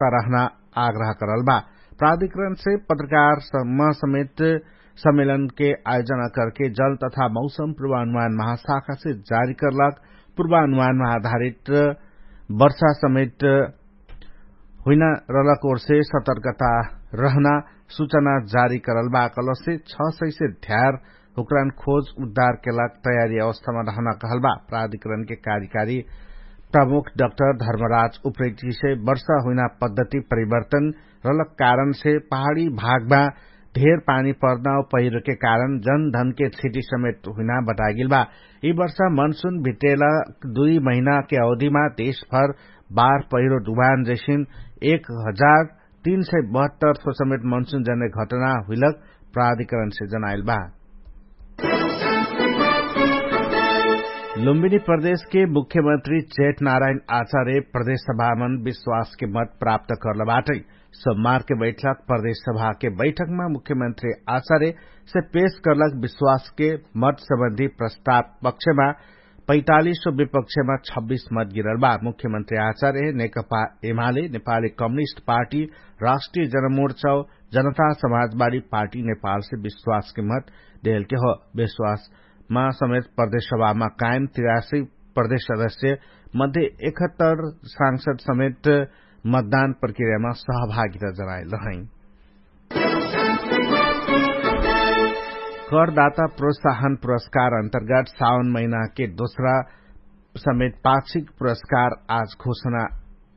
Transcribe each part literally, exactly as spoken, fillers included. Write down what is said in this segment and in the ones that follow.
रहना आग्रह करल बा। प्राधिकरणसे पत्रकारसम्म समेत सम्मेलनके आयोजना करके जल तथा मौसम प्रवानुमान महाशाखासे जारी करलक प्रवानुमान महाधारित वर्षा समेत हुइना रलक ओरसे सतर्कता रहना सुचना जारी करल बा कलसे छ सैसे ध्यार हुक्रान खोज उद्धार केलाक तयारी अवस्थामा रहना कहल बा। प्राधिकरणके कार्यकारी प्रमुख डक्टर धर्मराज उप्रेतीसे वर्षा हुइना पद्धति परिवर्तन रलक कारणसे पहाडी भागमा ढेर पानी पर्ना पहिरोके कारण जनधनके क्षति समेत हुइना बतागेल बा। यि वर्षा मनसुन भित्रेला दुई महिनाके अवधिमा देशभर बार पहिरो डुबान जैसिन एक हजार तीन सय बहत्तर समेत मनसुन जन्ने घटना हुइलक प्राधिकरणसे जनाइल बा। लुम्बिनी प्रदेशके मुख्यमन्त्री जेठ नारायण आचार्य प्रदेशसभामन विश्वासके मत प्राप्त कर्ल बाटै। सम्मारके बैठक प्रदेशसभाके बैठकमा मुख्यमन्त्री आचार्यसे पेश कर्लक विश्वासके मत सम्बन्धी प्रस्ताव पक्षमा पैतालिसो विपक्षमा छब्बिस मत गिरल बा। मुख्यमन्त्री आचार्य नेकपा एमाले नेपाली कम्युनिस्ट पार्टी राष्ट्रिय जनमोर्चा जनता समाजवादी पार्टी नेपालसे विश्वासके मत देलके हो। विश्वासमा समेत प्रदेशसभामा कायम तिरासी प्रदेश सदस्य मध्ये एकहत्तर सांसद समेत मतदान प्रक्रियामा सहभागिता जनाइल रहै। करदाता प्रोत्साहन पुरस्कार अन्तर्गत साउन महिनाके दोस्रा समेत पाक्षिक पुरस्कार आज घोषणा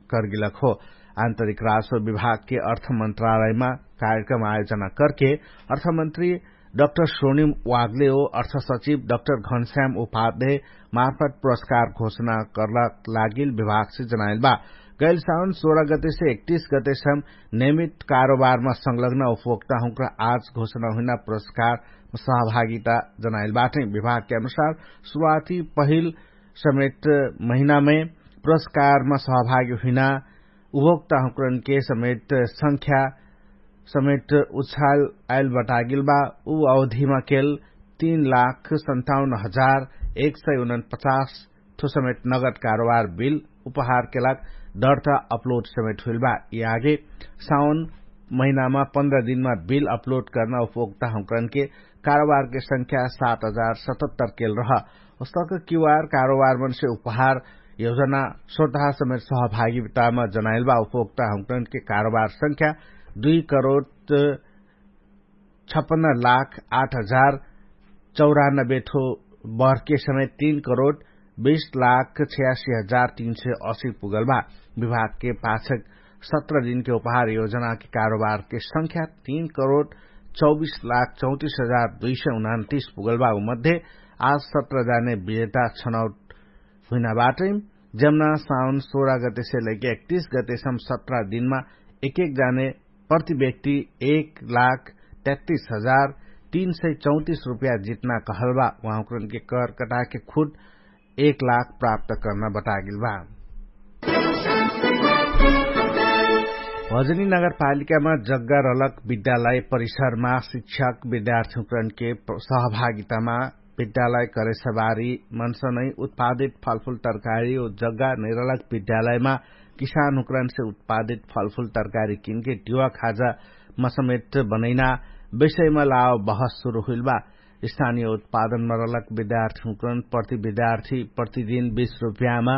करगिलक हो। आन्तरिक राजस्व विभागके अर्थ मन्त्रालयमा कार्यक्रम आयोजना करके अर्थमन्त्री डक्टर सोनिम वागले ओ अर्थसचिव डक्टर घनश्याम उपाध्याय मार्फत पुरस्कार घोषणा कर्लक लागिल विभागसे जनाइल बा। गैल साउन सोह्र गतेसे एकतिस गतेसम नियमित कारोबारमा संलग्न उपभोक्ताहुँक्रा आज घोषणा हुइना पुरस्कार सहभागिता जनाइल बाटै। विभागके अनुसार सुरुवाती पहिल समेत महिनामै पुरस्कारमा सहभागी हुइना उपभोक्ताहुँक्रनके समेत संख्या समेत उछाल आइल बटागेल बा। उ अवधिमा केल तीन लाख सन्ताउन्न हजार एक सय उनपचास ठो समेत नगद कारोबार बिल उपहारके लाग दर्ता अपलोड समेत हुइल बा। यि आगे साउन महिनामा पन्ध्र दिनमा बिल अपलोड कर्ना उपभोक्ताहुँक्रनके कारोबारके संख्या सात हजार सतहत्तर केल रह। उस्तक क्यूआर कारोबारमनसे उपहार योजना सोतहा समेत सहभागितामा जनाइल बा। उपभोक्ताहुँक्रनके कारोबार संख्या दुई करोड छपन्न लाख आठ हजार चौरानबे ठो बर्के समेत तीन करोड बीस लाख छयासी हजार तीन सय असी पुगल बा। विभागके पाछक सत्र दिनके उपहार योजनाके कारोबारके संख्या तीन करोड चौबीस लाख चौतिस हजार दुई सय उनन्तिस पुगल बा। उ मध्ये आज सत्र जाने विजेता छनौट हुइना बाटै। जम्ना साउन सोह्र गतेसे लैके एकतिस गतेसम सत्र दिनमा एक एक जाने प्रति व्यक्ति एक लाख तेत्तिस हजार तीन सय चौतिस रुपया जितना कहल बा। उहाँकरनके कर कटाके खुद एक लाख प्राप्त कर्ना बतागेल बा। भजनी नगरपालिकामा जग्गा रलक विद्यालय परिसरमा शिक्षक विद्यार्थीकरणके सहभागितामा विद्यालय करेसबारी मनसनै उत्पादित फलफुल तरकारी ओ जग्गा नैरलक विद्यालयमा किसानहुँकरनसे उत्पादित फलफुल तरकारी किनके टिवा खाजामा समेत बनैना विषयमा लाव बहस सुरु हुइल बा। स्थानीय उत्पादनमा रलक विद्यार्थीहुँकरन प्रति विद्यार्थी प्रतिदिन बीस रुपयामा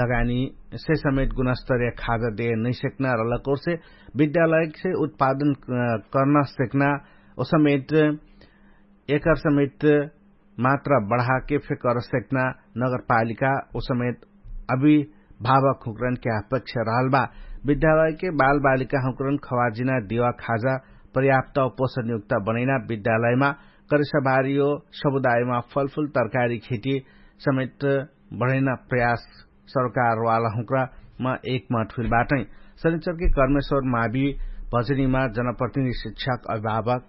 लगानीसे समेत गुणस्तरीय खाजा देह नैसेक्ना रलक ओर्से विद्यालयसे उत्पादन कर्ना सेक्ना ओ समेत एकर समेत मात्रा बढाके फेक कर सेक्ना नगरपालिका ओ समेत अभिभावकहुँकरनके अपेक्षा रहल बा। विद्यालयके बालबालिकाहुँकरन खवाजिना दिवा खाजा पर्याप्त ओ पोषणयुक्त बनैना विद्यालयमा करेसबारी ओ समुदायमा फलफुल तरकारी खेती समेत बढैना प्रयास सरकारवालाहुँकरामा एकमठ हुइल बाटै। शनिचरके कर्मेश्वर मावी भजनीमा जनप्रतिनिधि शिक्षक अभिभावक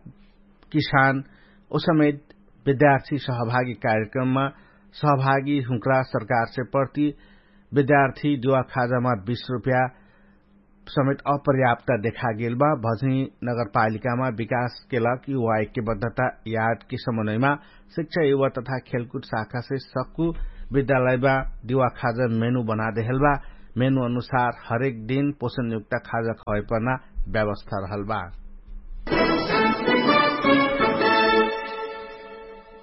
किसान ओ समेत विद्यार्थी सहभागी कार्यक्रममा सहभागीहुँकरा सरकारसे प्रति विद्यार्थी दिवा खाजामा बीस रुपया समेत अपर्याप्त देखागेल बा। भजनी नगरपालिकामा विकासके लग युवा एक्यबद्धता यादके समन्वयमा शिक्षा युवा तथा खेलकुट शाखासे सक्कु विद्यालयमा दिवा खाजा मेनु बनादेहेल बा। मेनु अनुसार हरेक दिन पोषणयुक्त खाजा खवाइपर्ना व्यवस्था रहल बा।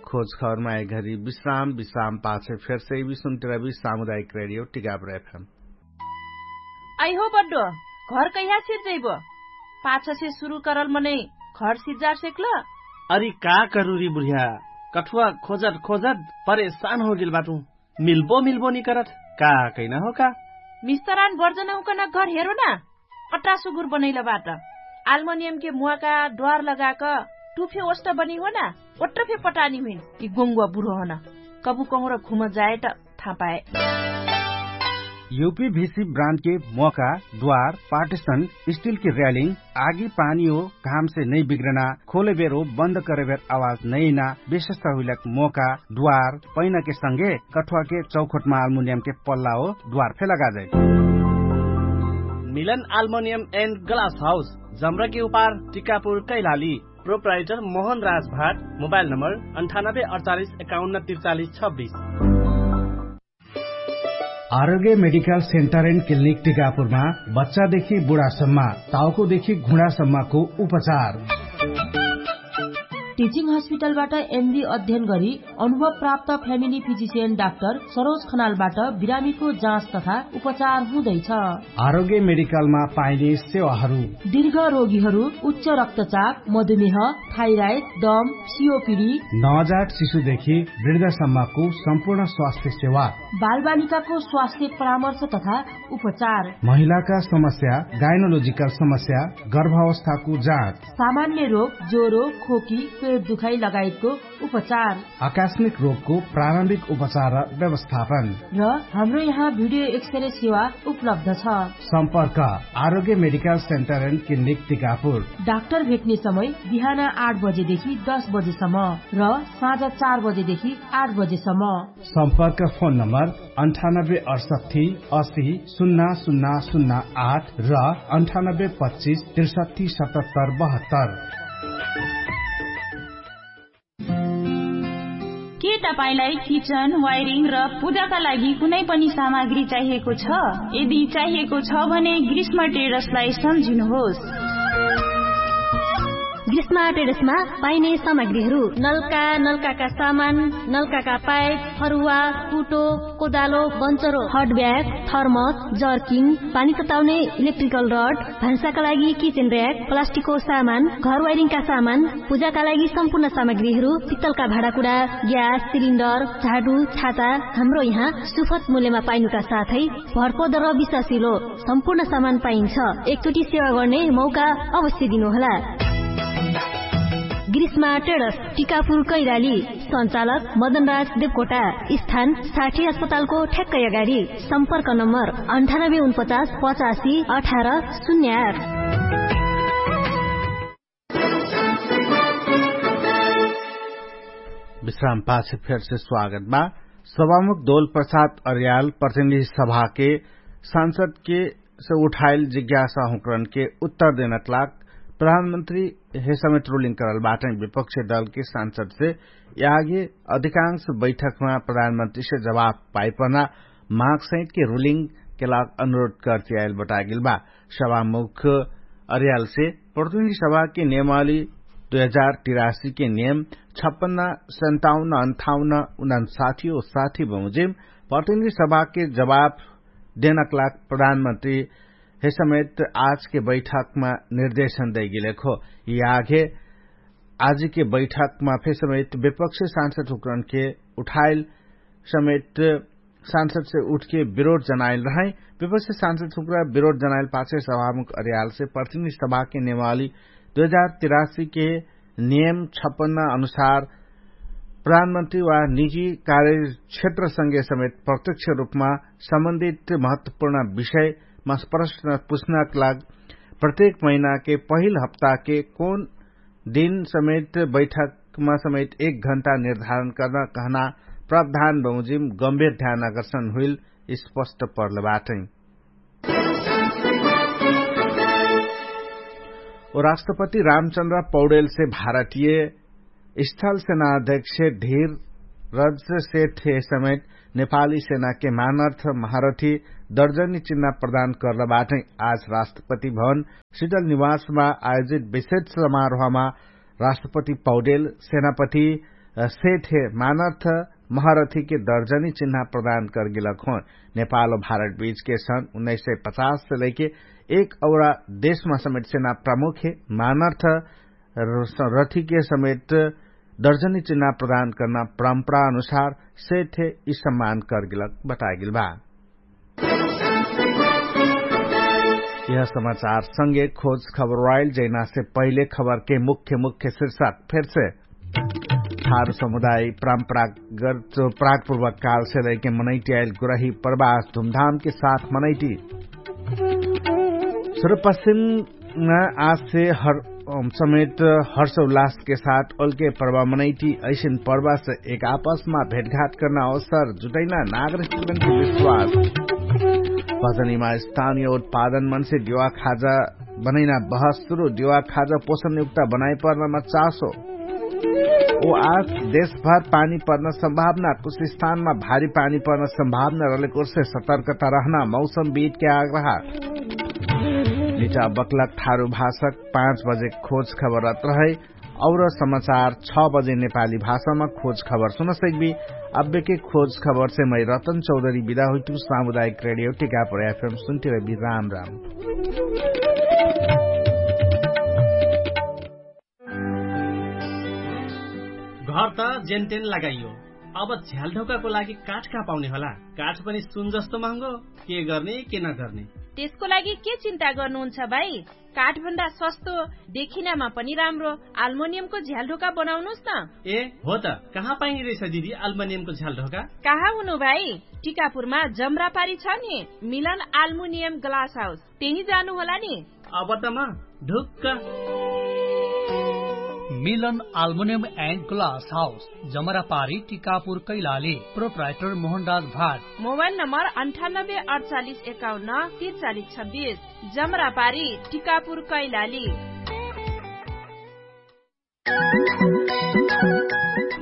खोजखबरमा एघरी विश्राम विश्राम पाछे फेरसे इबी सुन्तिरबी सामुदायिक रेडियो टिकापुर एफएम। अइहो बड्डो, घर कहिया सिर्जैबो? पाछसे सुरु करल मनै घर सिर्जार सेक्ल? अरि का करुरी बुढिया, कठुवा खोजत खोजत परेशान होगेल बाटु। मिल्बो मिल्बो निकरत का? कैना हो का? मिस्तरान बर्जन हुकन घर हेरो ना। अट्टा सुगुर बनैल बाट। आल्मोनियम के मुवाका द्वार लगाक टुफे ओष्ट बनी हो ना। ओट्ट फे पटानी हुइन कि गोंगुवा बुरो हन। कबु कहुँर घुम जाए त थापाए। यूपीभीसी ब्रान्ड के मोका द्वार पार्टिशन स्टिल के र्यालिङ आगी पानी हो घाम से नै बिग्रना खोले बेर हो बन्द करे बेर आवाज नै ना। विशेषता हुइलक मोका द्वार पैना के संगे कठुवा के चौखोटमा आल्मुनियम के पल्ला हो द्वार फे लगा जाए। मिलन आल्मुनियम एन्ड ग्लास हाउस जमरा के उपार टिकापुर कैलाली। प्रोप्राइटर मोहन राज भाट। मोबाइल नम्बर अन्ठानब्बे अडचालिस एकाउन्न त्रिचालिस छब्बिस। आरोग्य मेडिकल सेन्टर एन्ड क्लिनिक टिकापुरमा बच्चादेखि बुढासम्म, टाउकोदेखि घुँडासम्मको उपचार। टिचिङ हस्पिटलबाट एमडी अध्ययन गरी अनुभव प्राप्त फ्यामिली फिजिसियन डाक्टर सरोज खनालबाट बिरामीको जाँच तथा उपचार हुँदैछ। आरोग्य मेडिकलमा पाइने सेवाहरू। दीर्घ रोगीहरू, उच्च रक्तचाप, मधुमेह, थाइराइड, दम, सिओपिडी। नवजात शिशुदेखि वृद्धसम्मको सम्पूर्ण स्वास्थ्य सेवा। बालबालिकाको स्वास्थ्य परामर्श तथा उपचार। महिलाका समस्या, गाइनोलोजिकल समस्या, गर्भावस्थाको जाँच। सामान्य रोग, ज्वरो, खोकी, पेट दुखाइ लगायतको उपचार। आकस्मिक रोगको प्रारम्भिक उपचार र व्यवस्थापन। र हाम्रो यहाँ भिडियो एक्सरे सेवा उपलब्ध छ। सम्पर्क Arogya medical centre and clinic Tikapur. Doctor भेट्ने समय बिहान आठ बजेदेखि दस बजेसम्म र साँझ चार बजेदेखि आठ बजेसम्म। सम्पर्क फोन नम्बर अन्ठानब्बे अडसट्ठी असी सुन्ना सुन्ना सुन्ना आठ र अन्ठानब्बे पच्चिस त्रिसट्ठी सतहत्तर बहत्तर। के तपाईंलाई किचन, वायरिङ र पूजाका लागि कुनै पनि सामग्री चाहिएको छ? यदि चाहिएको छ भने ग्रीष्म ट्रेडर्सलाई सम्झिनुहोस्। ग्रीष्म ट्रेडर्समा पाइने सामग्रीहरू। नलका, नलकाका सामान, नलकाका पाइप, फरुवा, कुटो, कोदालो, बन्चरो, हट ब्याग, थर्मस, जर्किन, पानी तताउने इलेक्ट्रिकल रड, भान्साका लागि किचन र्‍याक, प्लास्टिकको सामान, घर वायरिङका सामान, पूजाका लागि सम्पूर्ण सामग्रीहरू, पित्तलका भाँडाकुडा, ग्यास सिलिन्डर, झाडु, छाता, हाम्रो यहाँ सुफत मूल्यमा पाइनुका साथै भरपर्दो र विश्वासिलो सम्पूर्ण सामान पाइन्छ। एकचोटि सेवा गर्ने मौका अवश्य दिनुहोला। ग्रीष्मा ट्रेडर्स, टिकापुर कैलाली। सञ्चालक मदनराज देवकोटा। स्थान साठी अस्पतालको ठ्याक्कै अगाडि। सम्पर्क नम्बर अन्ठानब्बे उनपचास पचासी अठार शून्य आठ। विश्राम पाछे फेरसे स्वागत बा। सभामुख दोल प्रसाद अर्याल प्रतिनिधि सभाके सांसदके से उठाइल जिज्ञासा हुँकरनके उत्तर देनक लाग प्रधानमन्त्री हे समेत रुलिङ करल बाटै। विपक्ष दलके सांसदसे यागे अधिकांश बैठकमा प्रधानमन्त्रीसे जवाफ पाइपना माग सहितके रुलिङके लाग अनुरोध करतियाइल बतागेल बा। सभामुख अर्यालसे प्रतिनिधि सभाके नियमावली दुई हजार तिरासीके नियम छप्पन्न सन्ताउन्न अन्ठाउन्न उनन्साठी ओ साठी बमोजिम प्रतिनिधि सभाके जवाफ देनक लाग प्रधानमन्त्री हे समेत आजके बैठकमा निर्देशन दैगेलेक हो। यागे आजके बैठकमा फे समेत विपक्ष सांसद हुकरनके उठाइल समेत सांसदसे उठके विरोध जनाइल रहै। विपक्ष सांसद हुकरा विरोध जनाइल पाछे सभामुख अर्यालसे प्रतिनिधि सभाके नियमावली दुई हजार तिरासीके नियम छप्पन्न अनुसार प्रधानमन्त्री वा निजी कार्यक्षेत्रसँगे समेत प्रत्यक्ष रूपमा सम्बन्धित महत्वपूर्ण विषयमा प्रश्न पुछ्नक लाग प्रत्येक महिनाके पहिल हप्ताके कौन दिन समेत बैठकमा समेत एक घण्टा निर्धारण कर्न कहना प्रावधान बमोजिम गम्भीर ध्यान आकर्षण हुइल स्पष्ट पर्ल बाटै। ओ राष्ट्रपति रामचन्द्र पौडेलसे भारतीय स्थल सेनाध्यक्ष धीर रज सेठे समेत नेपाली सेनाके मानर्थ महारथी दर्जनी चिन्हा प्रदान कर्न बाटै। आज राष्ट्रपति भवन सिटल निवासमा आयोजित विशेष समारोहमा राष्ट्रपति पौडेल सेनापति सेठे मानर्थ महारथीके दर्जनी चिन्हा प्रदान कर्गिलक होन। नेपाल भारत बीचके सन उन्नैस सय पचास से लैके एक औरा देशमा समेट सेना प्रमुखे मानर्थ रथिके समेट दर्जनी चिन्हा प्रदान कर्ना परम्परा अनुसार सेठे यि सम्मान कर्गिलक बतागिल बा। यह समाचार संगे खोज खबर वाइल जैनासे पहिले खबरके मुख्य मुख्य शीर्षक फेरसे। थारु समुदाय परम्परागत प्रागपूर्वक कालसे लैके मनैटी आइल गुरही प्रवास धुमधामके साथ मनैटी। सुरपश्चिम आसे हर समेट हर्ष उल्लासके साथ ओल्के पर्वा मनैटी। ऐसिन पर्वासे एक आपसमा भेटघाट कर्ना अवसर जुटैना नागरिक विश्वास। भजनीमा स्थानीय उत्पादन मनसे दिवा खाजा बनैना बहस सुरु दिवा खाजा पोषण युक्ता बनाइ पर्नामा चासो। ओ आज देशभर पानी पर्न सम्भावना कुछ स्थानमा भारी पानी पर्न सम्भावना रहलेकोर्से सतर्कता रहना मौसम बीटके आग्रह। निटा बक्लक ठारु भाषक पाँच बजे खोज खबर रत रहै। और समाचार छ बजे नेपाली भाषामा खोज खबर सुन सकबी। अब्बेके खोज खबरसे मै रतन चौधरी बिदा हुइतु सामुदायिक रेडियो टिकापुर एफएम सुन्तिरबी राम राम। घर त जेनतेन लगाइयो। अब झ्यालढोकाको लागि काठ कहाँ पाउने होला? काठ पनि सुन जस्तो महँगो। के गर्ने के नगर्ने? त्यसको लागि के चिन्ता गर्नुहुन्छ भाइ? काठभन्दा सस्तो, देखिनामा पनि राम्रो आल्मोनियमको झ्यालढोका बनाउनुस् न। ए हो त, कहाँ पाइने रहेछ दिदी आल्मोनियमको झ्यालढोका? कहाँ हुनु भाइ? टिकापुरमा जमरापारी छ नि, मिलन आल्मुनियम ग्लास हाउस, त्यही जानु होला नि। अब त म ढुक्क। मिलन आल्मुनियम एन्ड ग्लास हाउस, जमरापारी टिकापुर कैलाली। प्रोप्राइटर मोहनराज भाट। मोबाइल नम्बर अन्ठानब्बे अडचालिस एकाउन्न तिरचालिस छब्बिस। जमरापारी टिकापुर कैलाली।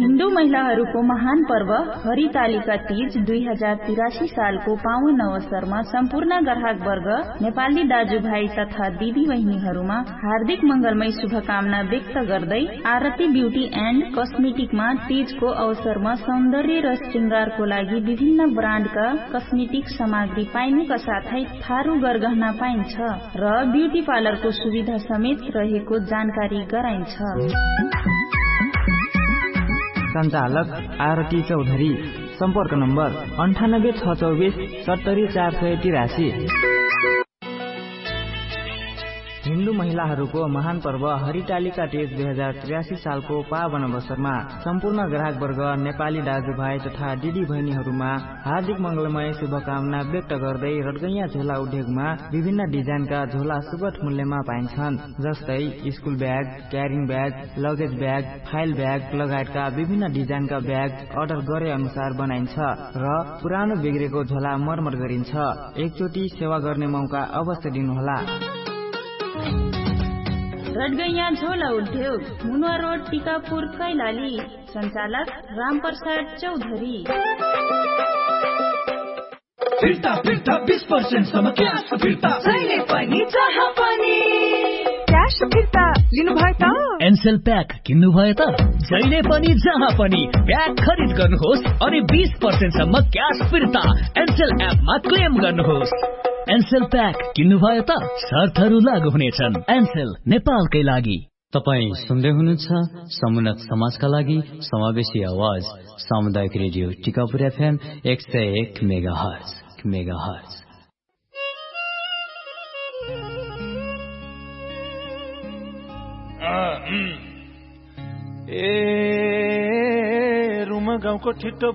हिन्दू महिलाहरूको महान पर्व हरितालिका तीज दुई हजार तिरासी सालको पावन अवसरमा सम्पूर्ण ग्राहकवर्ग, नेपाली दाजुभाइ तथा दिदीबहिनीहरूमा हार्दिक मङ्गलमय शुभकामना व्यक्त गर्दै आरती ब्युटी एन्ड कस्मेटिकमा तीजको अवसरमा सौन्दर्य र शृङ्गारको लागि विभिन्न ब्रान्डका कस्मेटिक सामग्री पाइनुका साथै थारु गरगहना पाइन्छ र ब्युटी पार्लरको सुविधा समेत रहेको जानकारी गराइन्छ। सञ्चालक आरती चौधरी। सम्पर्क नम्बर अन्ठानब्बे छ चौबिस सत्तरी चार सय तिरासी। हिन्दू महिलाहरूको महान पर्व हरितालिका तीज दुई हजार त्रियासी सालको पावन अवसरमा सम्पूर्ण ग्राहकवर्ग, नेपाली दाजुभाइ तथा दिदीबहिनीहरूमा हार्दिक मङ्गलमय शुभकामना व्यक्त गर्दै रटगैया झोला उद्योगमा विभिन्न डिजाइनका झोला सुगत मूल्यमा पाइन्छन्। जस्तै school bag, carrying bag, luggage bag, file bag लगायतका विभिन्न डिजाइनका ब्याग अर्डर गरे अनुसार बनाइन्छ र पुरानो बिग्रेको झोला मर्मत गरिन्छ। एकचोटि सेवा गर्ने मौका अवश्य दिनुहोला। रटगैया झोला उद्योग, मुनुवा रोड, टिकापुर, कैलाली। सञ्चालक रामप्रसाद चौधरी। फिर्ता फिर्ता बिस पर्सेन्ट सम्म क्यास फिर्ता। जहिले पनि जहाँ पनि। क्यास फिर्ता लिनुभयो त? एनसेल प्याक किन्नुभयो त? जहिले पनि जहाँ पनि प्याक खरिद गर्नुहोस् अनि बिस पर्सेन्ट सम्म क्यास फिर्ता एनसेल एपमा क्लेम गर्नुहोस्। एनसेल प्याक किन्नुभयो त? शर्तहरू लागू हुनेछन्। एनसेल, नेपालकै लागि। तपाईं सुन्दै हुनुहुन्छ समुन्नत समाजका लागि समावेशी आवाज, सामुदायिक रेडियो टिकापुर एफएम एक सय एक मेगाहर्ज। मेगाहर्ज। ए रुम गाउँको ठिट्टो